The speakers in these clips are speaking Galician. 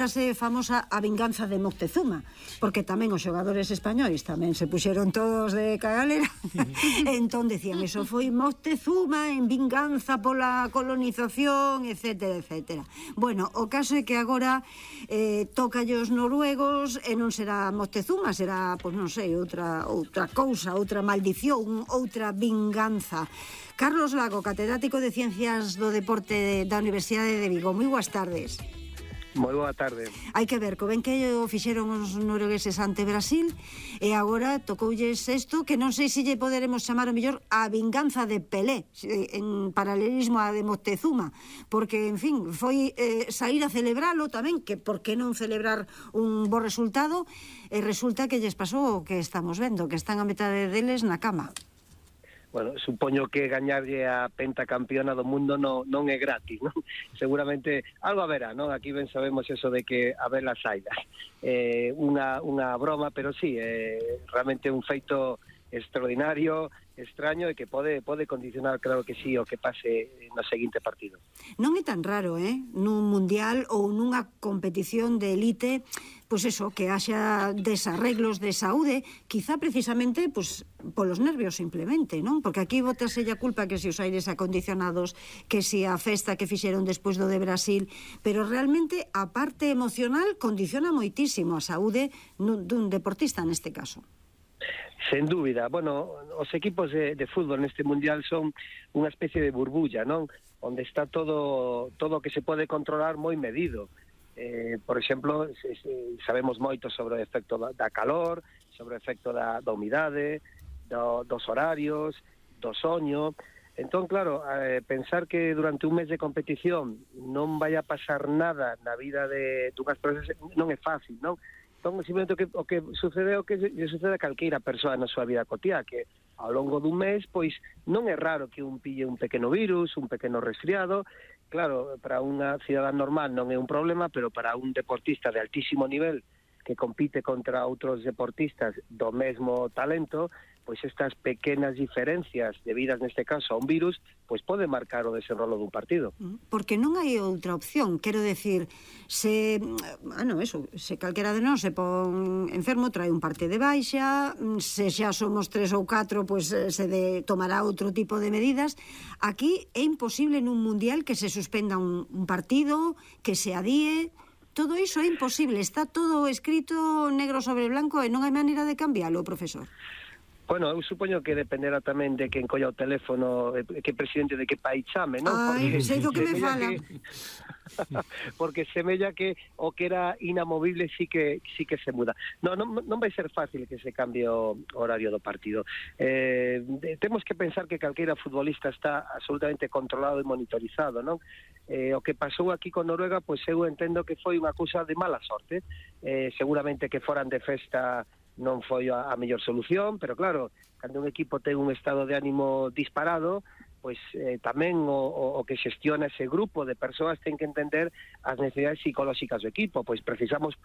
Fórase famosa a vinganza de Moctezuma, porque tamén os xogadores españois tamén se puxeron todos de cagalera. Entón decían, eso foi Moctezuma en vinganza pola colonización, etcétera, etcétera. Bueno, o caso é que agora toca os noruegos e non será Moctezuma, será, pois non sei, outra cousa, outra maldición, outra vinganza. Carlos Lago, catedrático de Ciencias do Deporte da Universidade de Vigo. Moi boas tardes. Moi boa tarde. Hai que ver, co ben que o fixeron os noruegueses ante Brasil e agora tocoulles isto que non sei se lle poderemos chamar o mellor a vinganza de Pelé en paralelismo a de Moctezuma, porque, en fin, foi sair a celebralo tamén, que por que non celebrar un bo resultado, e resulta que lles pasou o que estamos vendo, que están a metade deles na cama. Bueno, supoño que gañarlle a pentacampiona do mundo non é gratis, non? Seguramente algo haberá, non? Aquí ben sabemos eso de que haber las saidas. Unha broma, pero sí, realmente un feito extraordinario, extraño e que pode condicionar, claro que sí, o que pase no seguinte partido. Non é tan raro, nun mundial ou nunha competición de elite, pois eso, que haxa desarreglos de saúde, quizá precisamente polos nervios simplemente, non? Porque aquí botase a culpa que se os aires acondicionados, que se a festa que fixeron despois do de Brasil, pero realmente a parte emocional condiciona moitísimo a saúde dun deportista neste caso. Sen dúbida, bueno, os equipos de fútbol neste mundial son unha especie de burbulla, non? Onde está todo o que se pode controlar moi medido. Por exemplo, sabemos moito sobre o efecto da calor, sobre o efecto da humidade, dos horarios, do soño. Entón, claro, pensar que durante un mes de competición non vai a pasar nada na vida dunhas persoas non é fácil, non? Entón, simplemente o que sucede a calqueira persoa na súa vida cotiá, que ao longo dun mes, pois non é raro que un pille un pequeno virus, un pequeno resfriado. Claro, para unha cidadán normal non é un problema, pero para un deportista de altísimo nivel que compite contra outros deportistas do mesmo talento, pois estas pequenas diferencias debidas neste caso a un virus, pois pode marcar o desenrolo dun partido. Porque non hai outra opción, quero decir, se calquera de nós se pon enfermo, trae un parte de baixa, se xa somos 3 ou 4, pois se tomará outro tipo de medidas. Aquí é imposible nun mundial que se suspenda un partido, que se adíe. Todo iso é imposible, está todo escrito negro sobre blanco e non hai maneira de cambiálo, profesor. Bueno, eu supoño que dependerá tamén de quen colla o teléfono, que presidente de que país chame, non? Ai, sei do que me fala. Porque semella que o que era inamovible sí que se muda. Non vai ser fácil que se cambie o horario do partido. Temos que pensar que calqueira futbolista está absolutamente controlado e monitorizado, non? O que pasou aquí con Noruega, pois eu entendo que foi unha cousa de mala sorte. Seguramente que foran de festa non foi a mellor solución, pero claro, cando un equipo ten un estado de ánimo disparado, pois tamén o que xestiona ese grupo de persoas ten que entender as necesidades psicolóxicas do equipo, pois precisamos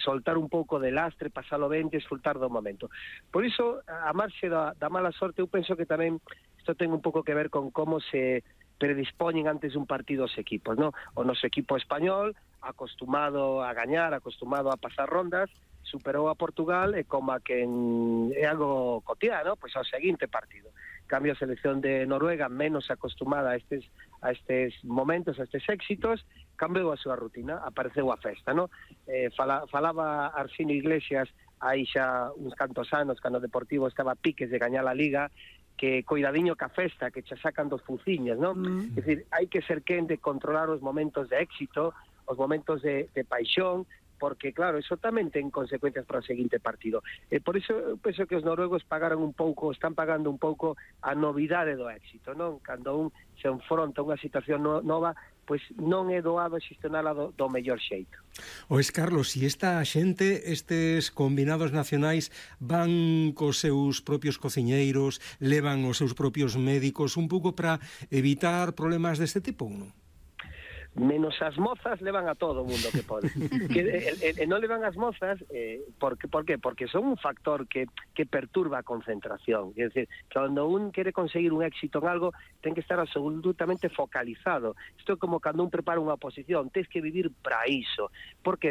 soltar un pouco de lastre, pasalo ben, desfrutar do momento. Por iso, a marxe da mala sorte, eu penso que tamén isto ten un pouco que ver con como se predispoñen antes un partido os equipos, ¿no? O noso equipo español, acostumado a gañar, acostumado a pasar rondas, superou a Portugal e como a que é algo cotidiano, pois ao seguinte partido. Cambio a selección de Noruega, menos acostumada a estes momentos, a estes éxitos, cambiou a súa rutina, apareceu a festa, ¿no? Falaba Arsenio Iglesias aí xa uns cantos anos, cando o Deportivo estaba a piques de gañar a Liga, que coidadiño ca festa, que xa sacan dos fuciñas, ¿no? É dicir, hai que ser quen de controlar os momentos de éxito, os momentos de paixón, porque, claro, eso tamén ten consecuencias para o seguinte partido. Por iso, eu penso que os noruegos están pagando un pouco a novidade do éxito, non? Cando un se enfronta a unha situación nova, pois non é doado xestionala do mellor xeito. Oes, Carlos, e esta xente, estes combinados nacionais, van cos seus propios cociñeiros, levan os seus propios médicos, un pouco para evitar problemas deste tipo, non? menos as mozas levan a todo o mundo que pode. Non levan as mozas, por qué? Porque son un factor que perturba a concentración. É dicir, cando un quere conseguir un éxito en algo, ten que estar absolutamente focalizado. Isto é como cando un prepara unha oposición, tens que vivir para iso. Por qué?